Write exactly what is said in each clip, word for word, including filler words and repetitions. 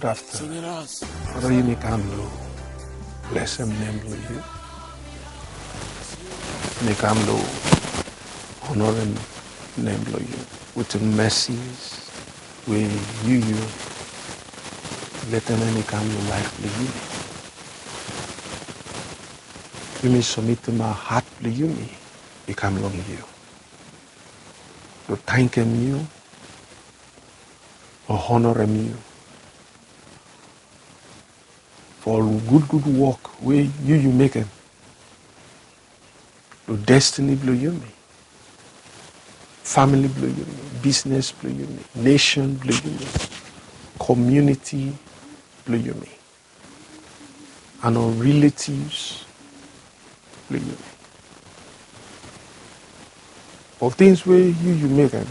Gudaftanun. Fada, yumi kam lo blesem nem blo yu. Yumi kam lo onorem nem blo yu wetem mesi we yu, yu letem hemi kam lo laef blo yumi. Yumi somitim hat blo yumi i kam long yu. Lo tankem yu, lo onorem yu fo ol gudgud wok we yu, yu mekem lo destini blo yumi, famili blo yumi, bisnes blo yumi, nesen blo yumi, komuniti blo yumi, and ol riletivs blo yumi. Ol tings we yu, yu mekem,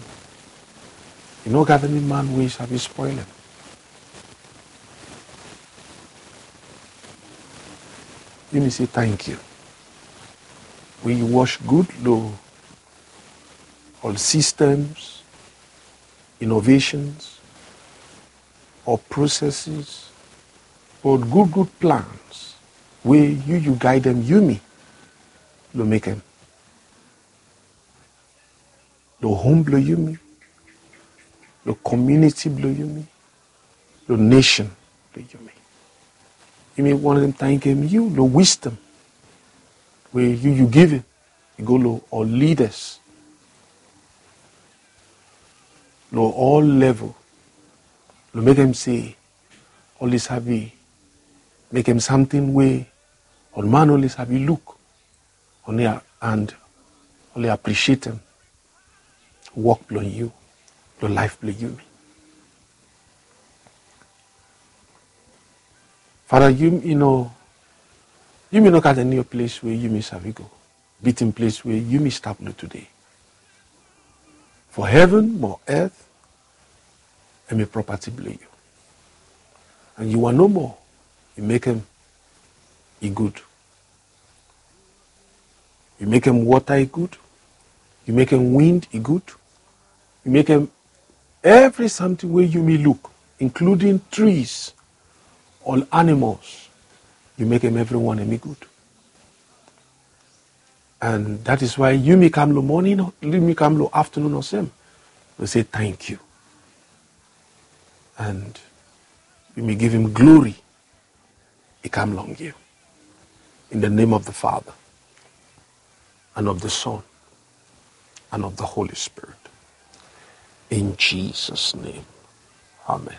i no gat eni man we i save spolem. Yumi se tangkiu we yu was gud lo ol systems, innovations, ol processes, ol gudgud plans we yu, yu gaedem yumi lo mekem lo hom blo yumi, lo komuniti blo yumi, lo nesen blo yumi. Yumi wantem tangkem yu lo wisdom we yu, yu givim i go lo ol lidas lo ol level, lo mekem se oli save mekem samting we ol man oli save luk, oli a-, and oli aprisietem wok blo yu lo laef blo yumi. Fada, yumi no, yumi no gat eni ples we yumi save go bitim ples we yumi stap lo tede. Fo heven mo earth hemi propati blo yu. And yu wan nomo yu mekem i gud. Yu mekem wota i gud. Yu mekem wind i gud. Yu mekem evri samting we yumi luk, including trees, ol animals. Yu mekem evriwan hemi gud. And that is why yumi kam lo moning, yumi kam lo aftanun olsem, wi se tangkiu. And yumi givim glori i kam long yu. In the name of the Father, and of the Son, and of the Holy Spirit. In Jesus' name, amen.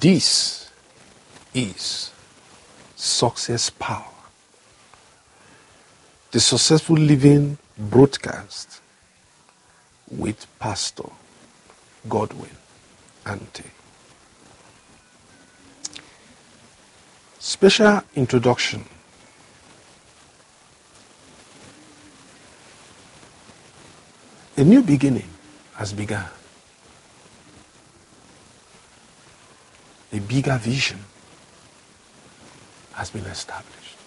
This is Success Power, the Successful Living Broadcast with Pastor Godwin Ante. Special introduction. A new beginning has begun. A bigger vision has been established.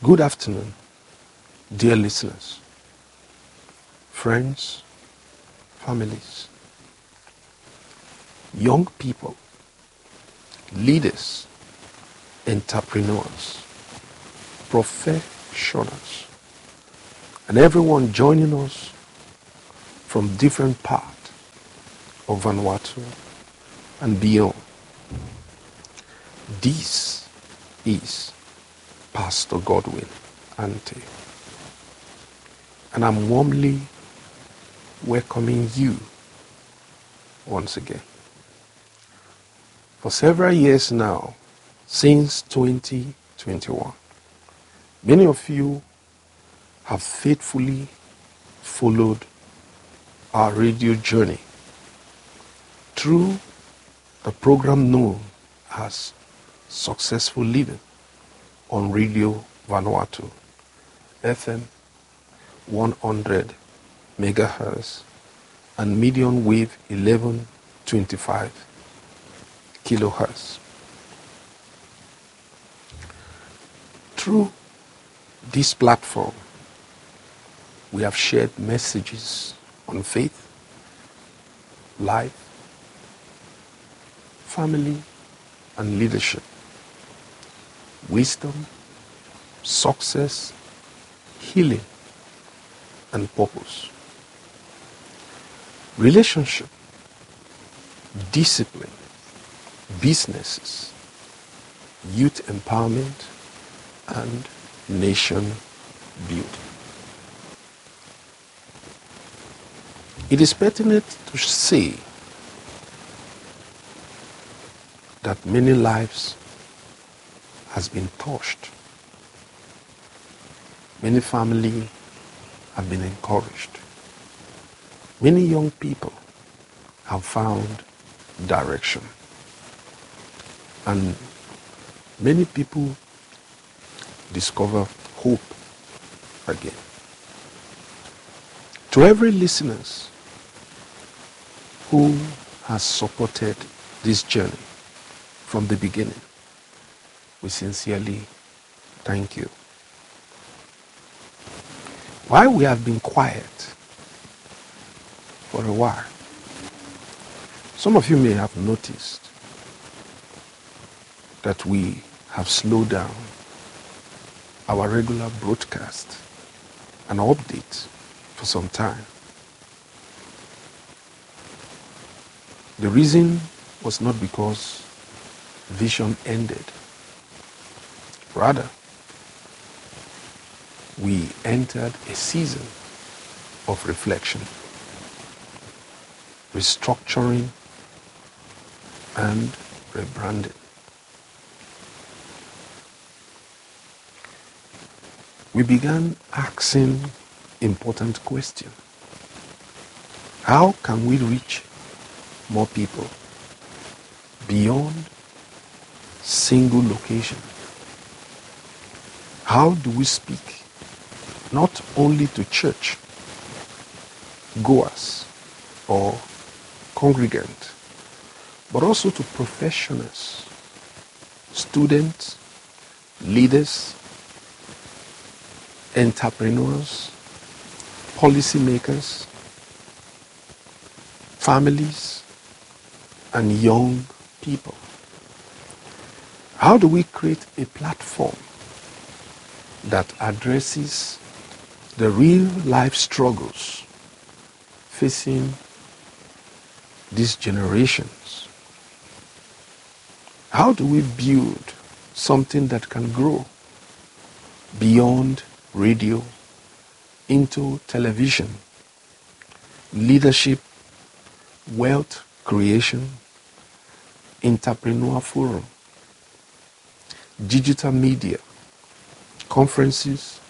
Good afternoon, dear listeners, friends, families, young people, leaders, entrepreneurs, professionals, and everyone joining us from different parts of Vanuatu and beyond. This is Pastor Godwin Ante, and I'm warmly welcoming you once again. For several years now, since twenty twenty-one, many of you have faithfully followed our radio journey through the program known as Successful Living on Radio Vanuatu, F M one hundred megahertz, and medium wave eleven twenty-five kilohertz. Through this platform, We have shared messages on faith, life, family, and leadership, wisdom, success, healing, and purpose, relationship, discipline, businesses, youth empowerment, and nation building. It is pertinent to say that many lives has been touched. Many family have been encouraged. Many young people have found direction. And many people discover hope again. To every listeners who has supported this journey from the beginning, we sincerely thank you. While we have been quiet for a while, some of you may have noticed that we have slowed down our regular broadcast and update for some time. The reason was not because vision ended. Rather, we entered a season of reflection, restructuring, and rebranding. We began asking important question. How can we reach more people beyond single location? How do we speak not only to church goers or congregants, but also to professionals, students, leaders, entrepreneurs, policymakers, families, and young people? How do we create a platform that addresses the real life struggles facing these generations? How do we build something that can grow beyond radio into television, leadership, wealth creation, entrepreneur forum, digital media, conferences,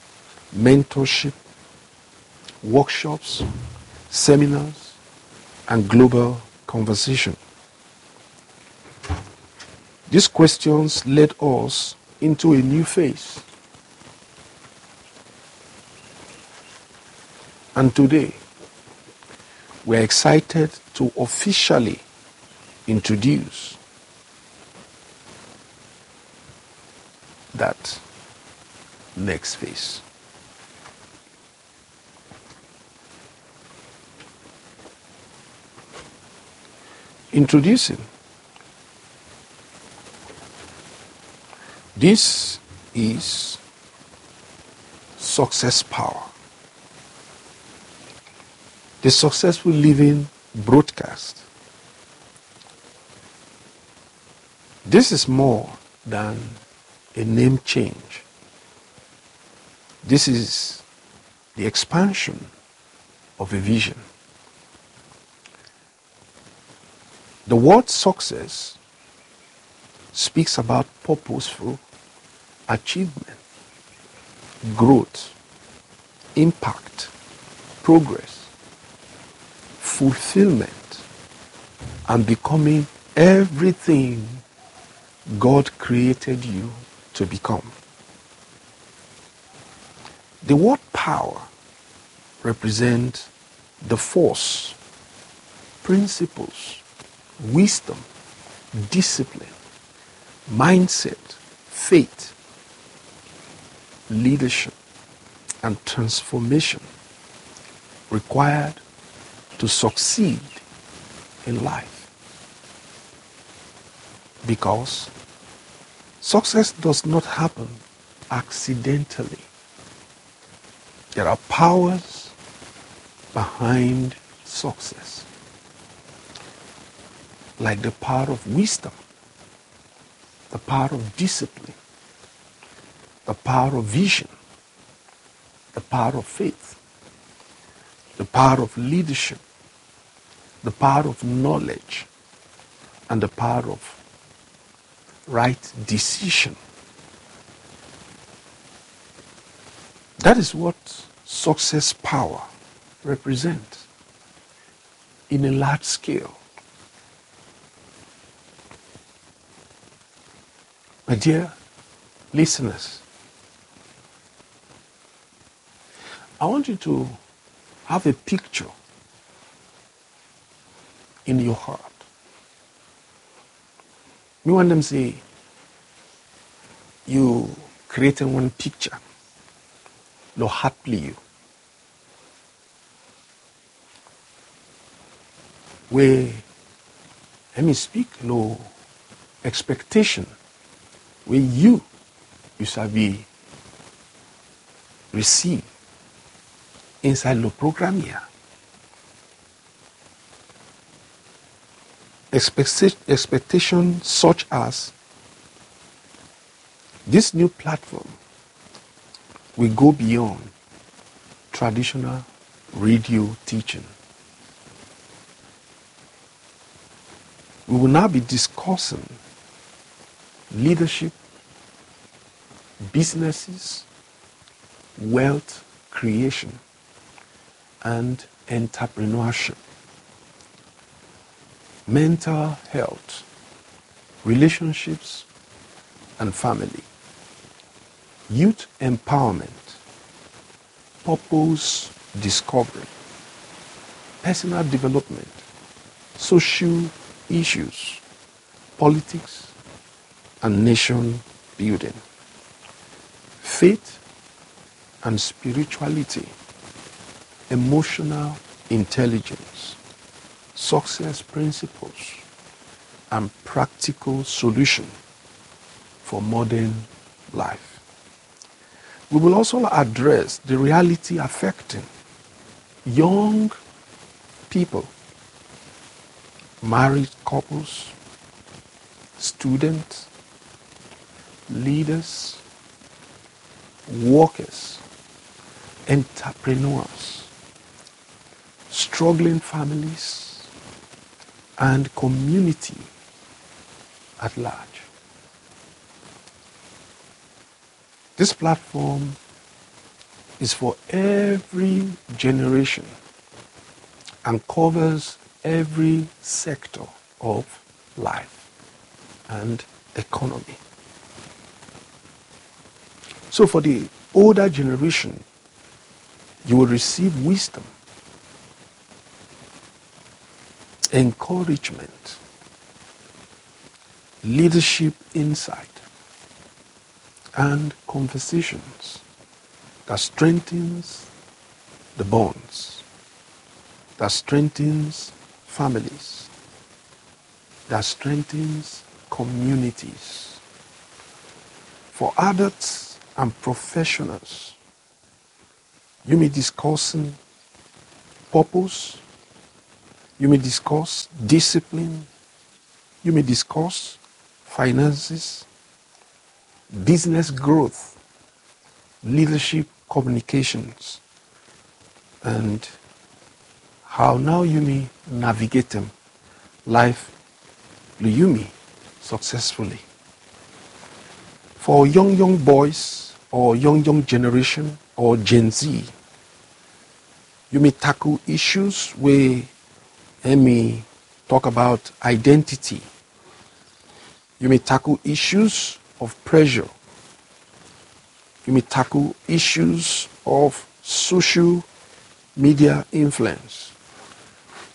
mentorship, workshops, seminars, and global conversation? These questions led us into a new phase. And today, we are excited to officially introduce that next phase. Introducing, this is Success Power, the Successful Living broadcast. This is more than a name change. This is the expansion of a vision. The word success speaks about purposeful achievement, growth, impact, progress, fulfillment, and becoming everything God created you to become. The word power represents the force, principles, wisdom, discipline, mindset, faith, leadership, and transformation required to succeed in life. Because success does not happen accidentally. There are powers behind success, like the power of wisdom, the power of discipline, the power of vision, the power of faith, the power of leadership, the power of knowledge, and the power of right decision. That is what success power represents in a large scale. My dear listeners, I want you to have a picture in your heart. Mi wantem se yu krietem wan piksa lo hat blong yu we hemi spik lo ekspektesen we yu yu save risiv insaed lo program ya. Expecta- expectation such as this new platform will go beyond traditional radio teaching. We will now be discussing leadership, businesses, wealth creation, and entrepreneurship, mental health, relationships and family, youth empowerment, purpose discovery, personal development, social issues, politics and nation building, faith and spirituality, emotional intelligence, success principles, and practical solution for modern life. We will also address the reality affecting young people, married couples, students, leaders, workers, entrepreneurs, struggling families, and community at large. This platform is for every generation and covers every sector of life and economy. So for the older generation, you will receive wisdom, encouragement, leadership insight, and conversations that strengthens the bonds, that strengthens families, that strengthens communities. For adults and professionals, yumi discuss purpose, yumi discuss discipline, yumi discuss finances, business growth, leadership, communications, and how now yumi navigate life blong yumi successfully. For young young boys or young young generation or Gen Z, yumi tackle issues wey hemi talk about identity. Yumi tackle issues of pressure. Yumi tackle issues of social media influence.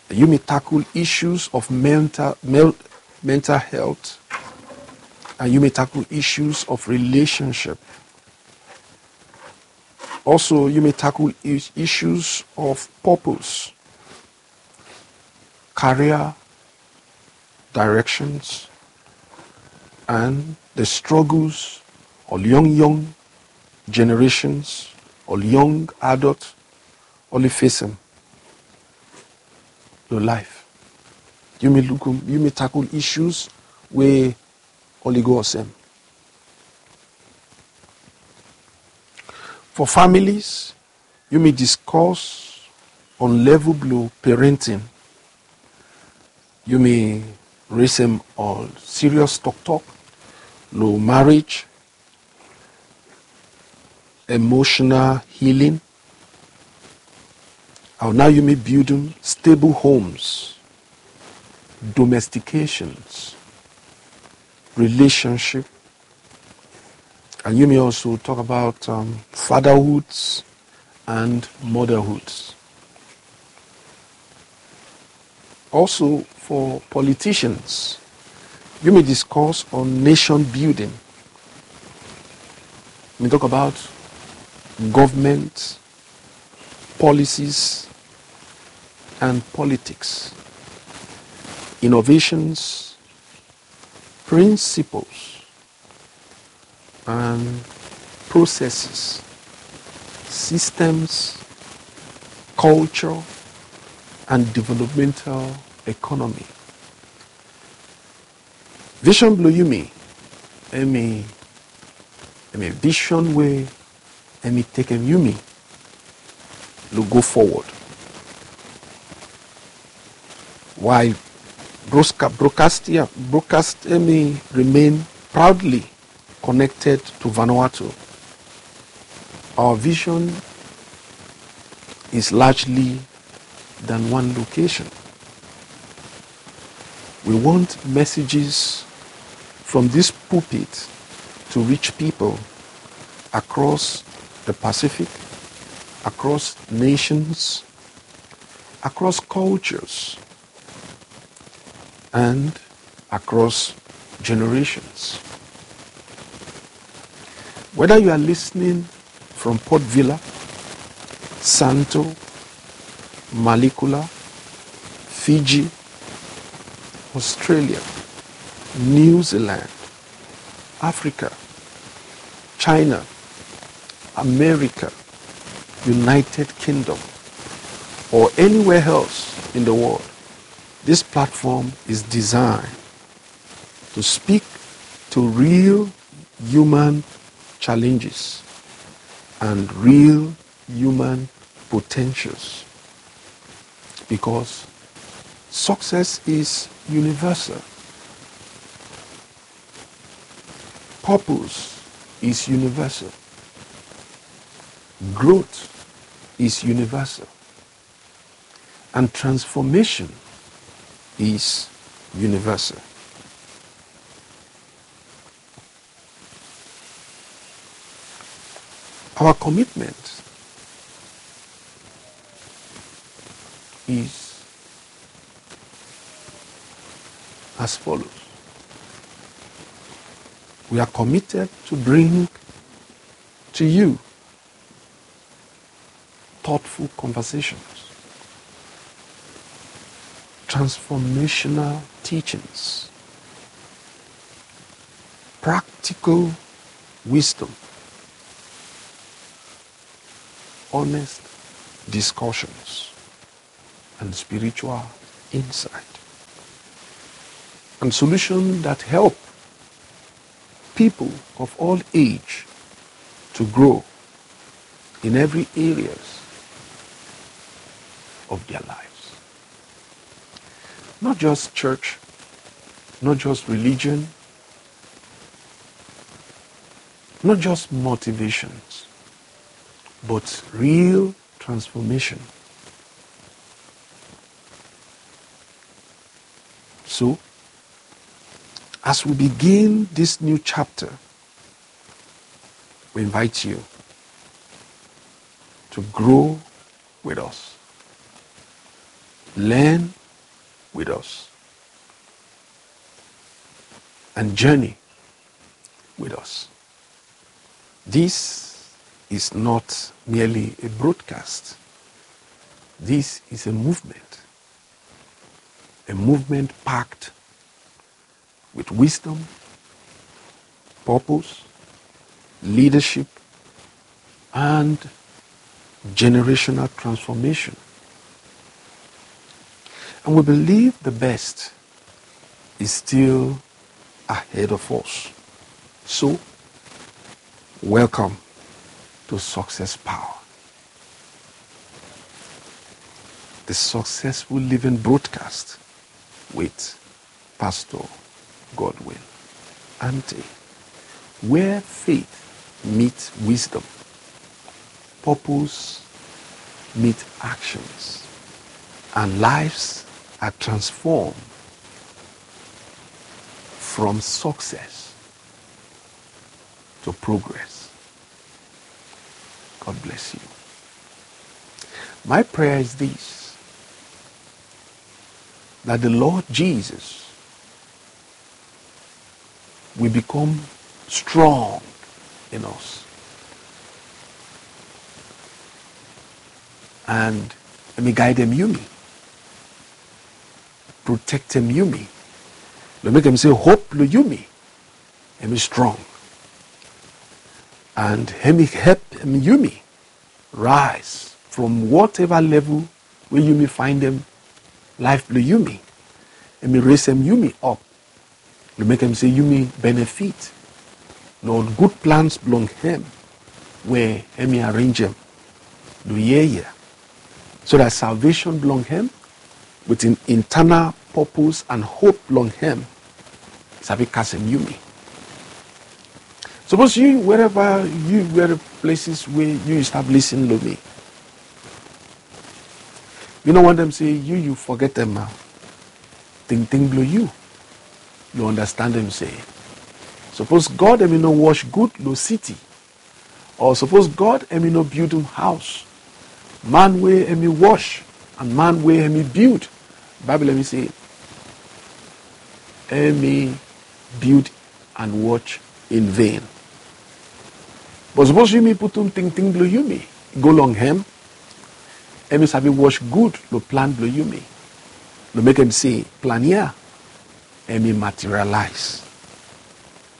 Yumi tackle issues of mental, mel- mental health. And yumi tackle issues of relationship. Also, yumi tackle is-, issues of purpose, career directions, and the struggles ol young young generations, ol young adult oli fesem lo life. Yumi lukum, yumi tackle issues we oli go olsem. For families, yumi discuss on level blo parenting. Yumi resem ol serious toktok lo marriage, emotional healing, and how yumi building stable homes, domestications, relationship, and yumi also talk about, um, fatherhoods and motherhoods. Also, for politicians, yumi discuss on nation building. Yumi talk about government, policies, and politics, innovations, principles, and processes, systems, culture, and developmental economy. Vision blo yumi, hemi, hemi vision we hemi tekem yumi lo go forward. While broadca-, broadcast, yeah, broadcast hemi remain proudly connected to Vanuatu, our vision is largely than one location. We want messages from this pulpit to reach people across the Pacific, across nations, across cultures, and across generations. Whether you are listening from Port Vila, Santo, Malekula, Fiji, Australia, New Zealand, Africa, China, America, United Kingdom, or anywhere else in the world, this platform is designed to speak to real human challenges and real human potentials, because success is universal. Purpose is universal. Growth is universal. And transformation is universal. Our commitment is as follows. We are committed to bring to you thoughtful conversations, transformational teachings, practical wisdom, honest discussions, and spiritual insight, and solution that help people of all age to grow in every areas of their lives. Not just church, not just religion, not just motivations, but real transformation. So, as we begin this new chapter, we invite you to grow with us, learn with us, and journey with us. This is not merely a broadcast. This is a movement, a movement packed with wisdom, purpose, leadership, and generational transformation. And we believe the best is still ahead of us. So, welcome to Success Power, the Successful Living Broadcast with Pastor Godwin Ante, where faith meets wisdom, purpose meets actions, and lives are transformed from success to progress. God bless you. My prayer is this, that the Lord Jesus will become strong in us. And hemi guidem yumi, protektem yumi, lo mekem se hope blo yumi hemi strong. And hemi helpem yumi rise from whatever level we yumi faindem laef blo yumi. Hemi resem yumi op lo mekem se yumi benefit lo gud plans blong hem we hemi arenjem lo yia ya, so that salvation blong hem with an internal purpose and hope blong hem sabi kasem yumi. Sapos yu, wherever yu, where places we yu stap lisin lo mi, mi no wantem se yu, yu fogetem tingting blo yu. Yu andastandem se sapos God hemi no wos gud lo city, o sapos God hemi no bildem haos, man we hemi wos and man we hemi bild, Baebol hemi se hemi bild and wos in vain. But sapos yumi putum tingting blo yumi go long hem, hemi sabi wos gud lo plan blo yumi, lo mekem se plan ya hemi materialize.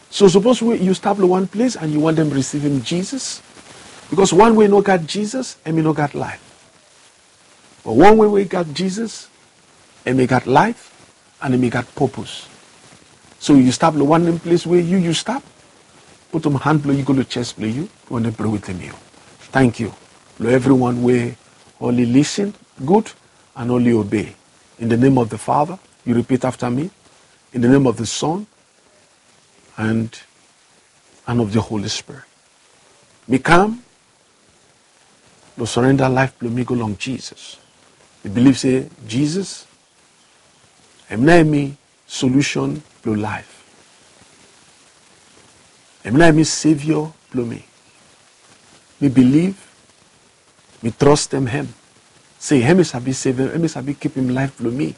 So sapos we yu stap lo wan ples and yu wantem risivim Jisas, bikos wan we no gat Jisas hemi no gat laef. But wan we we gat Jisas hemi gat laef and hemi gat purpose. So yu stap lo wanem ples we yu, yu stap, putum han blo yu go lo jes blo yu, yu wantem prea wetem yu. Tangkiu lo evriwan we oli lisin gud and oli obey. In the name of the Father, yu ripit afta mi. In the name of the Son, and, and of the Holy Spirit. Mi kam lo surrender laef blo mi go long Jisas. Mi bilif se Jisas hemi nao hemi solution blo laef. Hemi nao hemi Savior blo mi. Mi bilif, mi trastem hem se hemi sabi sevem, hemi sabi kipim laef blo mi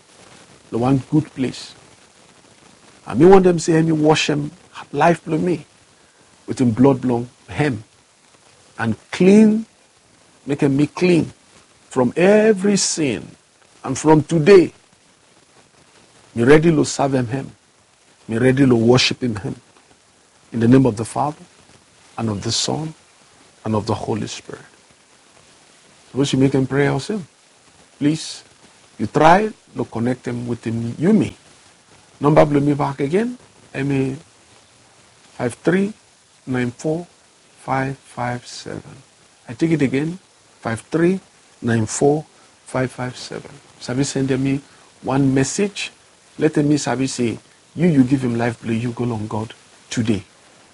lo wan gud ples. And mi wantem se hemi wasem laef blo mi wetem blod blong hem and klin, mekem mi klin from evri sin. And from tede, mi redi lo savem hem. Mi redi lo wosipim hem. In the name of the Father, and of the Son, and of the Holy Spirit. Sapos yu mekem prea olsem, plis, yu trae lo konektem wetem yumi. Namba blo mi bak agen, hemi five three nine four five five seven. I take it again, five three nine four five five seven. Sabi sendem mi wan message, letem mi sabi se yu, yu givim laef blo yu go long God tede.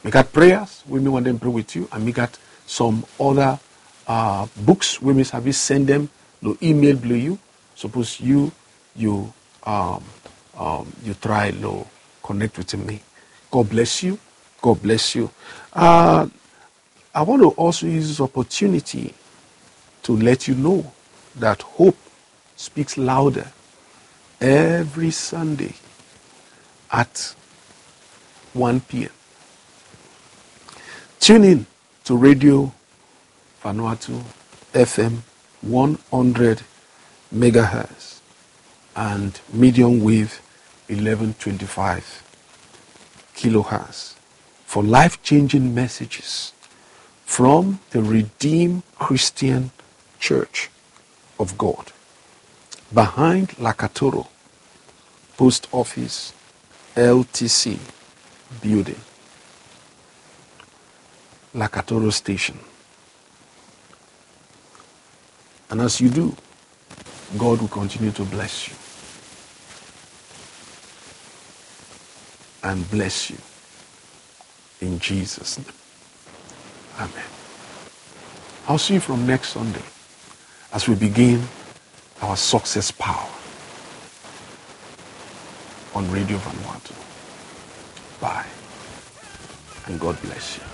Mi gat preas we mi wantem prea wit yu, and mi gat some oda, uh, books we mi sabi sendem lo email blo yu. Sapos yu, yu, um, um, yu trae lo connect wetem mi. God bless you. God bless you. Uh, I want to also use this opportunity to let you know that hope speaks louder every Sunday at one p.m. Tune in to Radio Vanuatu F M one hundred megahertz and medium wave eleven twenty-five kilohertz for life-changing messages from the Redeemed Christian Church of God behind Lakatoro Post Office L T C building, Lakatoro Station. And as you do, God will continue to bless you and bless you in Jesus' name. Amen. I'll see you from next Sunday as we begin our success power on Radio Vanuatu. Bye, and God bless you.